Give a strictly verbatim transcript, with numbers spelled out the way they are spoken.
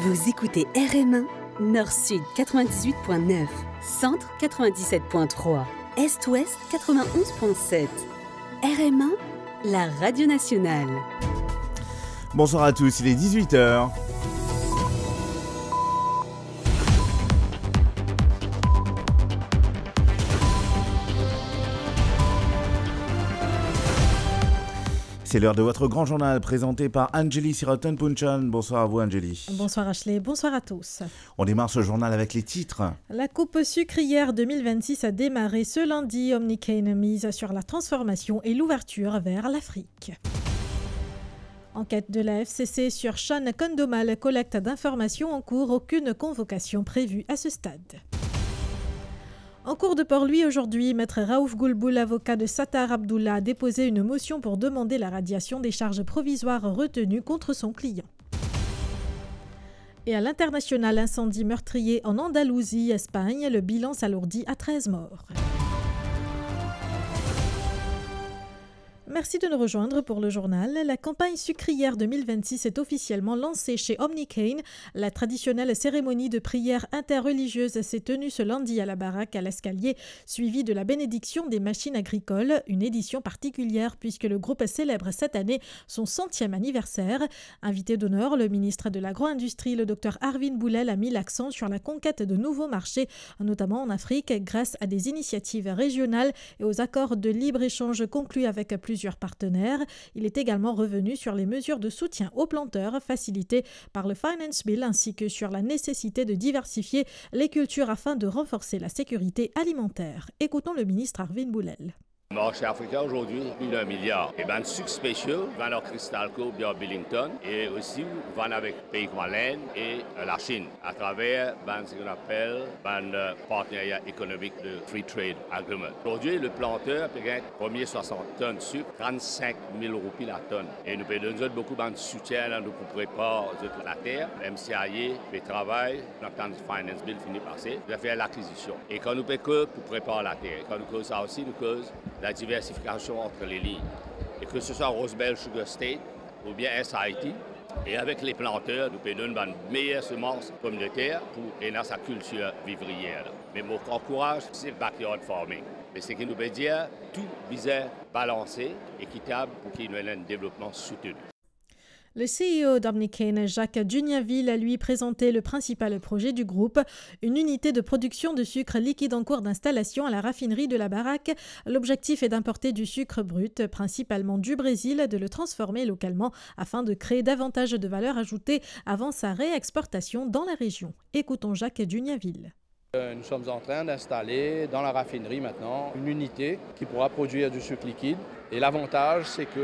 Vous écoutez R M un, Nord-Sud quatre-vingt-dix-huit point neuf, Centre quatre-vingt-dix-sept point trois, Est-Ouest quatre-vingt-onze point sept. R M un, la radio nationale. Bonsoir à tous, il est dix-huit heures. C'est l'heure de votre grand journal présenté par Anjali Siraton Punchan. Bonsoir à vous, Anjali. Bonsoir Ashley, bonsoir à tous. On démarre ce journal avec les titres. La coupe sucrière deux mille vingt-six a démarré ce lundi. Omni Cane mise sur la transformation et l'ouverture vers l'Afrique. Enquête de la F C C sur Sean Condomal, collecte d'informations en cours, aucune convocation prévue à ce stade. En cours de Port-Louis aujourd'hui, Maître Raouf Goulboul, avocat de Sattar Abdullah, a déposé une motion pour demander la radiation des charges provisoires retenues contre son client. Et à l'international, incendie meurtrier en Andalousie, Espagne, le bilan s'alourdit à treize morts. Merci de nous rejoindre pour le journal. La campagne sucrière deux mille vingt-six est officiellement lancée chez Omni Cane. La traditionnelle cérémonie de prière interreligieuse s'est tenue ce lundi à la baraque à l'Escalier, suivie de la bénédiction des machines agricoles, une édition particulière puisque le groupe célèbre cette année son centième anniversaire. Invité d'honneur, le ministre de l'Agro-Industrie, le docteur Arvin Boulel, a mis l'accent sur la conquête de nouveaux marchés, notamment en Afrique, grâce à des initiatives régionales et aux accords de libre-échange conclus avec plusieurs partenaires. Il est également revenu sur les mesures de soutien aux planteurs facilitées par le Finance Bill ainsi que sur la nécessité de diversifier les cultures afin de renforcer la sécurité alimentaire. Écoutons le ministre Arvin Boulel. Marché africain aujourd'hui, plus d'un milliard. Et bann sucre spéciaux, vann ar Cristalco oubien ar Billington, et aussi vann avek pei kouma l'Inde et, euh, la Chine, à travers bann, ce qu'on appelle, bann, euh, partenariat économique de Free Trade Agreement. Aujourd'hui, le planteur peut gagner premier soixante tonnes de sucre, trente-cinq mille roupies la tonne. Et nou pe donn zot boukou bann soutien la, nou pou prepar zot later. M C I A pe travay, nou atann Finance Bill fini pase, nou fer lakizision. E kan nou pe koz pou prepar later, kan nou koz sa osi, nou koz la diversifikasion ant le lign. E ke se swa Rosebel Sugar Estate oubien S I T, e avek le planter, nou pe donn bann meyer semans pomdeter pou ena sa kiltir vivriyer la. Me mo ankouraz, se backyard farming. Me seki nou pe dir, tou bizin balanse, ekitab pou ki nou ena enn devlopman souteni. Le C E O d'Omni Cane, Jacques Duniaville, a lui présenté le principal projet du groupe, une unité de production de sucre liquide en cours d'installation à la raffinerie de la Baraque. L'objectif est d'importer du sucre brut, principalement du Brésil, de le transformer localement afin de créer davantage de valeur ajoutée avant sa réexportation dans la région. Écoutons Jacques Duniaville. Euh, nous sommes en train d'installer dans la raffinerie maintenant une unité qui pourra produire du sucre liquide. Et l'avantage, c'est que